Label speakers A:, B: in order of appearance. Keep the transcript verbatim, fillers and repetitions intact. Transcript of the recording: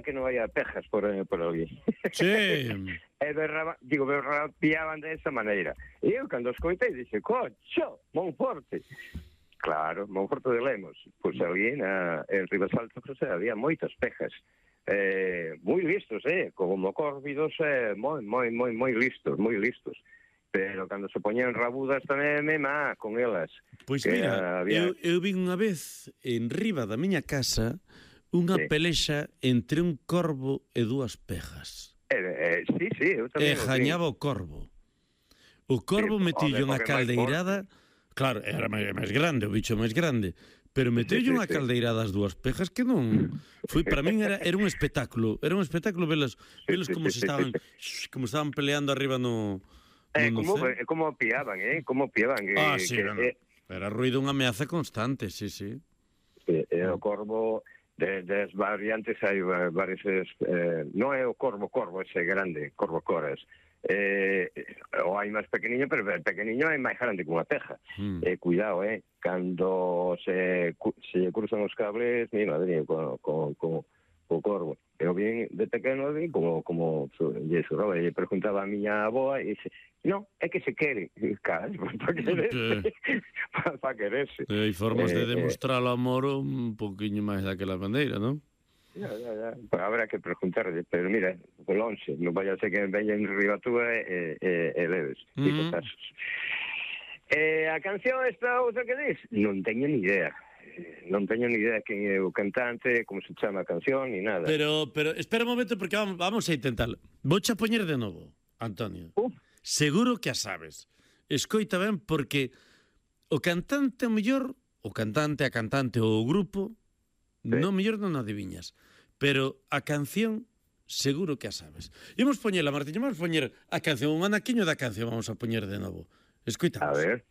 A: que non haya pejas por, por ali.
B: Sí.
A: E berraba, digo, berrapiaban de esa maneira. E eu, cando escoitei, dixe, cocho, Monforte. Claro, Monforte de Lemos. Pois ali na, en Ribasalto, pues, había moitas pejas. Eh, moi listos, eh, como córvidos, eh, moi, moi, moi, moi listos, moi listos. Pero cando se poñían rabudas tamén me má con elas.
B: Pois mira, había... eu, eu vi unha vez en riba da miña casa unha sí. pelexa entre un corvo e dúas pejas.
A: Eh, eh, sí, sí, eu tamén.
B: E jañaba o corvo. O corvo sí, metillo unha caldeirada, claro, era máis, máis grande, o bicho máis grande, pero metello unha sí, sí, caldeirada as dúas pejas que non... Foi, para min era, era un espectáculo, era un espectáculo velas, velas como se estaban, como estaban peleando arriba no...
A: Eh, como, eh, como piaban, eh? Como piaban. Que,
B: ah, sí,
A: que,
B: no, no.
A: Eh,
B: era ruido unha ameaza constante, sí, sí.
A: Eh, eh, o corvo, de, des variantes hai varios... Eh, non é o corvo, corvo, ese grande, corvo coras. Eh, o hai máis pequeniño, pero o pequeniño é máis grande que unha peja. Mm. Eh, cuidado, eh? Cando se, se cruzan os cables, mi madre, con, con, con, con o corvo. Eu vin de pequeno, vi como, como lle surraba, e preguntaba a miña aboa, e dice, no, é que se quere. Cara, para quererse. Para pa quererse.
B: E hai formas eh, de demostrar o amor un poquinho máis daquela maneira, non?
A: Ya, ya, ya. Pues habrá que preguntarle, pero mira, por once, non vaya a ser que veñen riba túa e, e, e leves. Mm -hmm. Eh, a canción esta outra que dis? Non teño ni idea. Non teño ni idea quen é o cantante, como se chama a canción, ni nada.
B: Pero, pero, espera un momento, porque vamos, vamos a intentarlo. Vouche a poñer de novo, Antonio. Uh. Seguro que a sabes. Escoita ben, porque o cantante, o mellor, o cantante, a cantante ou o grupo, sí. non mellor non adiviñas. Pero a canción, seguro que a sabes. Imos poñela, Martiño, vamos poñer a canción, un anaquiño da canción, vamos a poñer de novo. Escoitamos.
A: A ver.